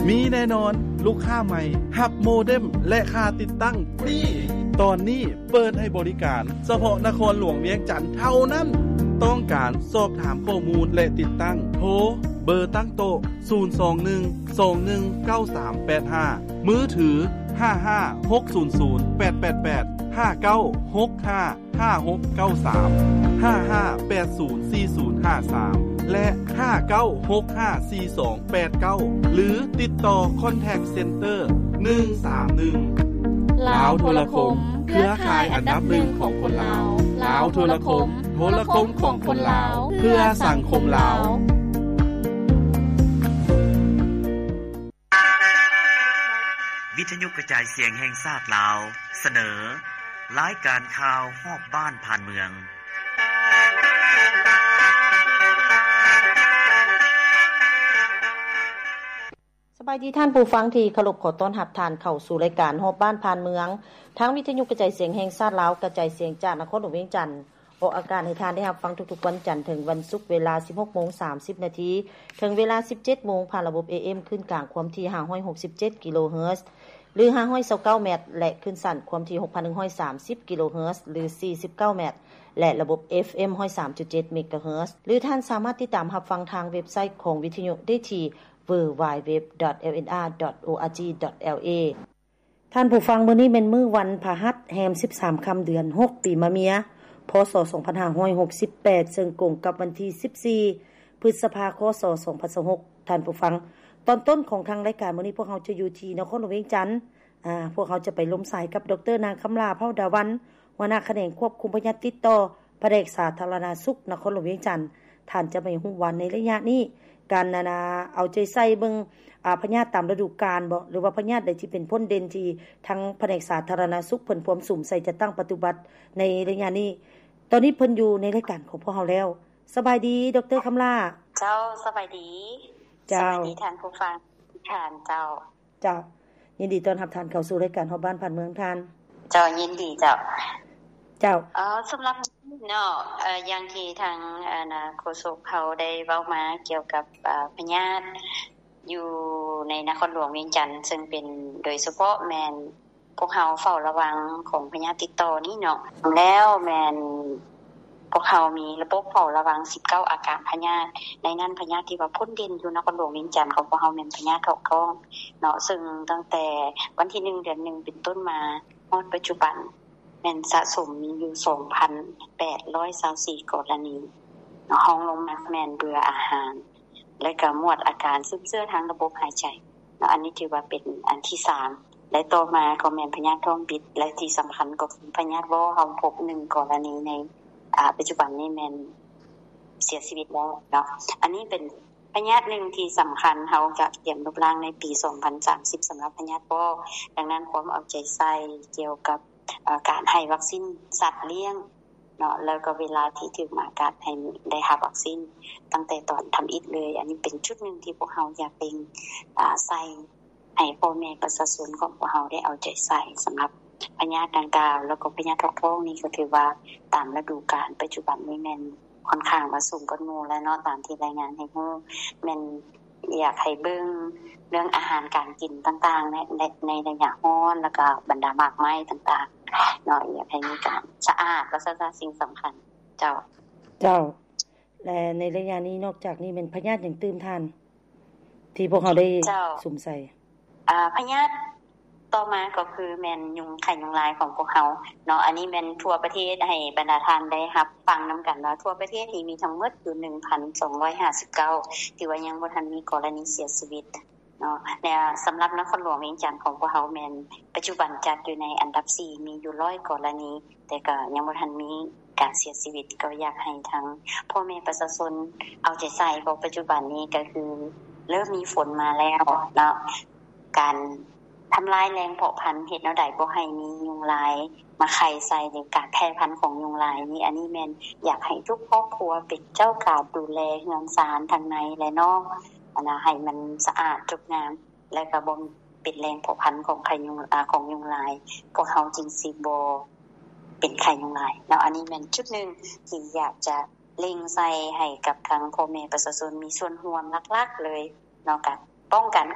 ມີແນ່ນອນ, ລູກຄ້າໃໝ່ຮັບໂມເດັມ ແລະ ຄ່າຕິດຕັ້ງຟຣີ. ຕອນນີ້ເປີດໃຫ້ບໍລິການສະເພາະນະຄອນຫຼວງວຽງຈັນເທົ່ານັ້ນ. ຕ້ອງການສອບຖາມຂໍ້ມູນ ແລະ ຕິດຕັ້ງ, ໂທເບີຕັ້ງໂຕະ ສູນສອງໜຶ່ງ ສອງໜຶ່ງ ເກົ້າສາມແປດຫ້າ, ມືຖື ຫ້າຫ້າຫົກສູນສູນແປດແປດແປດ, ຫ້າເກົ້າຫົກຫ້າ ຫ້າຫົກເກົ້າສາມ, ຫ້າຫ້າແປດສູນສີ່ສູນຫ້າສາມ ແລະ ຫ້າເກົ້າຫົກຫ້າສີ່ສອງແປດເກົ້າ ຫຼື ຕິດຕໍ່ Contact Center ໜຶ່ງສາມໜຶ່ງ. ລາວໂທລະຄົມ, ເຄືອຂ່າຍອັນດັບໜຶ່ງຂອງຄົນລາວ. ລາວໂທລະຄົມ, ໂທລະຄົມຂອງຄົນລາວ, ເພື່ອສັງຄົມລາວ. ວິທະຍຸກະຈາຍສຽງແຫ່ງຊາດລາວ ສະເໜີ ລາຍການຂ່າວຮອບບ້ານຜ່ານເມືອງ. ສະບາຍດີທ່ານຜູ້ຟັງທີ່ເຄົາລົບ, ຂໍຕ້ອນຮັບທ່ານເຂົ້າສູ່ລາຍການຮອບບ້ານຜ່ານເມືອງ ທາງວິທະຍຸກະຈາຍສຽງແຫ່ງຊາດລາວ ກະຈາຍສຽງຈາກນະຄອນຫຼວງວຽງຈັນ. ອອກອາກາດໃຫ້ທ່ານໄດ້ຮັບຟັງທຸກໆວັນຈັນເຖິງວັນສຸກ ເວລາສິບຫົກໂມງສາມສິບນາທີ ເຖິງເວລາສິບເຈັດໂມງ ຜ່ານລະບົບ ເອເອັມ ຄື້ນກາງຄວາມຖີ່ຫ້າຮ້ອຍຫົກສິບເຈັດກິໂລເຮີດ ຫຼື ຫ້າຮ້ອຍຊາວເກົ້າແມັດ ແລະ ຄື້ນສັ້ນຄວາມຖີ່ຫົກພັນໜຶ່ງຮ້ອຍສາມສິບກິໂລເຮີດ ຫຼື ສີ່ສິບເກົ້າແມັດ ແລະ ລະບົບ ເອຟເອັມ ຮ້ອຍສາມຈຸດເຈັດເມກາເຮີດ ຫຼື ທ່ານສາມາດຕິດຕາມຮັບຟັງທາງເວັບໄຊຂອງວິທະຍຸໄດ້ທີ່ www.lnr.org.la. ທ່ານຜູ້ຟັງ, ມື້ນີ້ແມ່ນມື້ວັນພະຫັດ ແຮມສິບສາມຄ່ຳ ເດືອນຫົກ ປີມະເມຍ ພ.ສ. ສອງພັນຫ້າຮ້ອຍຫົກສິບແປດ ເຊິ່ງກົງກັບວັນທີສິບສີ່ ພຶດສະພາ ຄ.ສ. ສອງພັນຊາວຫົກ. ທ່ານຜູ້ຟັງ, ຕອນຕົ້ນຂອງທາງລາຍການມື້ນີ້ ພວກເຮົາຈະຢູ່ທີ່ນະຄອນຫຼວງວຽງຈັນ. ອາ, ພວກເຮົາຈະໄປລົມສາຍກັບ ດຣ. ນາງຄຳຫຼ້າ ເຜົ່າດາວັນ, ຫົວໜ້າຂະແໜງຄວບຄຸມພະຍາດຕິດຕໍ່ ພະແນກສາທາລະນະສຸກນະຄອນຫຼວງວຽງຈັນ. ທ່ານຈະໃຫ້ຮູ້ວ່າໃນໄລຍະນີ້ ການ ອັນນ່າ ເອົາໃຈໃສ່ເບິ່ງ ອາ ພະຍາດຕາມລະດູການບໍ ຫຼືວ່າພະຍາດໃດທີ່ເປັນພົ້ນເດັ່ນທີ່ທາງພະແນກສາທາລະນະສຸກເພິ່ນພວມສຸມໃສ່ຈັດຕັ້ງປະຕິບັດໃນໄລຍະນີ້. ຕອນນີ້ເພິ່ນຢູ່ໃນລາຍການຂອງພວກເຮົາແລ້ວ. ສະບາຍດີ ດຣ. ຄຳຫຼ້າ. ເຈົ້າ, ສະບາຍດີ. ເຈົ້າ. ສະບາຍດີທ່ານຜູ້ຟັງທຸກທ່ານ. ເຈົ້າ. ເຈົ້າ, ຍິນດີຕ້ອນຮັບທ່ານເຂົ້າສູ່ລາຍການຮອບບ້ານຜ່ານເມືອງທ່ານ. ເຈົ້າ, ຍິນດີເຈົ້າ. ເຈົ້າ. ເອີ, ສຳລັບເນາະ, ເອີ, ຢ່າງທີ່ທາງ ອັນນ່າ ໂຄສົກເຮົາໄດ້ເວົ້າມາກ່ຽວກັບ ເອີ, ພະຍາດຢູ່ໃນນະຄອນຫຼວງວຽງຈັນ, ເຊິ່ງເປັນໂດຍສະເພາະແມ່ນ ພວກເຮົາເຝົ້າລະວັງຂອງພະຍາດຕິດຕໍ່ນີ້ເນາະ, ແລ້ວແມ່ນພວກເຮົາມີລະບົບເຝົ້າລະວັງສິບເກົ້າອາການພະຍາດ, ໃນນັ້ນພະຍາດທີ່ວ່າພົ້ນເດັ່ນຢູ່ນະຄອນຫຼວງວຽງຈັນຂອງພວກເຮົາແມ່ນພະຍາດຖອກທ້ອງເນາະ, ເຊິ່ງຕັ້ງແຕ່ວັນທີໜຶ່ງ ເດືອນໜຶ່ງ ເປັນຕົ້ນມາຮອດປັດຈຸບັນ ແມ່ນສະສົມມີຢູ່ສອງພັນແປດຮ້ອຍຊາວສີ່ກໍລະນີເນາະ, ຮອງລົງມາແມ່ນເບື່ອອາຫານ ແລະ ກະໝວດອາການຊຶມເຊື້ອທາງລະບົບຫາຍໃຈເນາະ, ອັນນີ້ຖືວ່າເປັນອັນທີສາມ ແລະ ຕໍ່ມາກໍແມ່ນພະຍາດທ້ອງບິດ ແລະ ທີ່ສຳຄັນກໍຄືພະຍາດວໍ ເຮົາພົບໜຶ່ງກໍລະນີໃນ ອາ ປັດຈຸບັນນີ້ແມ່ນເສຍຊີວິດແລ້ວເນາະ. ອັນນີ້ເປັນພະຍາດໜຶ່ງທີ່ສຳຄັນ ເຮົາກະກຽມລົບລ້າງໃນປີສອງພັນສາມສິບ ສຳລັບພະຍາດວໍ, ດັ່ງນັ້ນຄວາມເອົາໃຈໃສ່ກ່ຽວກັບ ເອີ ການໃຫ້ວັກຊີນສັດລ້ຽງເນາະ ແລ້ວກໍເວລາທີ່ຖືກໝາກັດໃຫ້ໄດ້ຮັບວັກຊີນຕັ້ງແຕ່ຕອນທຳອິດເລີຍ. ອັນນີ້ເປັນຈຸດໜຶ່ງທີ່ພວກເຮົາຢາກເລັ່ງ ອາ ໃສ່ໃຫ້ພໍ່ແມ່ປະຊາຊົນຂອງພວກເຮົາໄດ້ເອົາໃຈໃສ່ສຳລັບພະຍາດດັ່ງກ່າວ, ແລ້ວກໍພະຍາດຖອກທ້ອງນີ້ກໍຖືວ່າຕາມລະດູການປັດຈຸບັນນີ້ແມ່ນ ຂ້ອນຂ້າງວ່າສູງກວ່າໝູ່ແລ້ວເນາະ, ຕາມທີ່ລາຍງານໃຫ້ຮູ້ ແມ່ນຢາກໃຫ້ເບິ່ງເລື່ອງອາຫານການກິນຕ່າງໆ ໃນ ໃນ ໃນໄລຍະຮ້ອນ ແລ້ວກໍບັນດາໝາກໄມ້ຕ່າງໆເນາະ, ຢາກໃຫ້ມີການສະອາດ ວ່າຊັ້ນຊະ, ສິ່ງສຳຄັນ. ເຈົ້າ. ເຈົ້າ. ແລະ ໃນໄລຍະນີ້ ນອກຈາກນີ້ແມ່ນພະຍາດຫຍັງຕື່ມທ່ານ ທີ່ພວກເຮົາໄດ້ ເຈົ້າ ສຸມໃສ່? ອາ ພະຍາດຕໍ່ມາກໍຄືແມ່ນຍຸງ ໄຂ້ຍຸງລາຍຂອງພວກເຮົາເນາະ, ອັນນີ້ແມ່ນທົ່ວປະເທດ ໃຫ້ບັນດາທ່ານໄດ້ຮັບຟັງນຳກັນວ່າ ທົ່ວປະເທດນີ້ມີທັງໝົດຢູ່ໜຶ່ງພັນສອງຮ້ອຍຫ້າສິບເກົ້າ ທີ່ວ່າຍັງບໍ່ທັນມີກໍລະນີເສຍຊີວິດເນາະ. ແລະ ສຳລັບນະຄອນຫຼວງວຽງຈັນຂອງພວກເຮົາແມ່ນປັດຈຸບັນຈັດຢູ່ໃນອັນດັບສີ່ ມີຢູ່ຮ້ອຍກໍລະນີ ແຕ່ກໍຍັງບໍ່ທັນມີການເສຍຊີວິດ. ກໍຢາກໃຫ້ທັງພໍ່ແມ່ປະຊາຊົນເອົາໃຈໃສ່ ເພາະປັດຈຸບັນນີ້ກໍຄືເລີ່ມມີຝົນມາແລ້ວເນາະ, ການທຳລາຍແຫຼ່ງເພາະພັນ ເຮັດແນວໃດບໍ່ໃຫ້ມີຍຸງລາຍມາໄຂ່ໃສ່ ຫຼື ການແຜ່ພັນຂອງຍຸງລາຍນີ້, ອັນນີ້ແມ່ນຢາກໃຫ້ທຸກຄອບຄົວເປັນເຈົ້າການດູແລເຮືອນຊານທັງໃນ ແລະ ນອກ ອັນນະ ໃຫ້ມັນສະອາດຈົບງາມ ແລະ ກໍບໍ່ເປັນແຫຼ່ງເພາະພັນຂອງໄຂ້ຍຸງ ອາ ຂອງຍຸງລາຍ, ພວກເຮົາຈຶ່ງຊິບໍ່ເປັນໄຂ້ຍຸງລາຍເນາະ. ອັນນີ້ແມ່ນຈຸດໜຶ່ງທີ່ຢາກຈະເລັ່ງໃສ່ໃຫ້ກັບທາງພໍ່ແມ່ປະຊາຊົນມີສ່ວນຮ່ວມຫຼັກໆເລີຍເນາະ, ການປ້ອງກັນ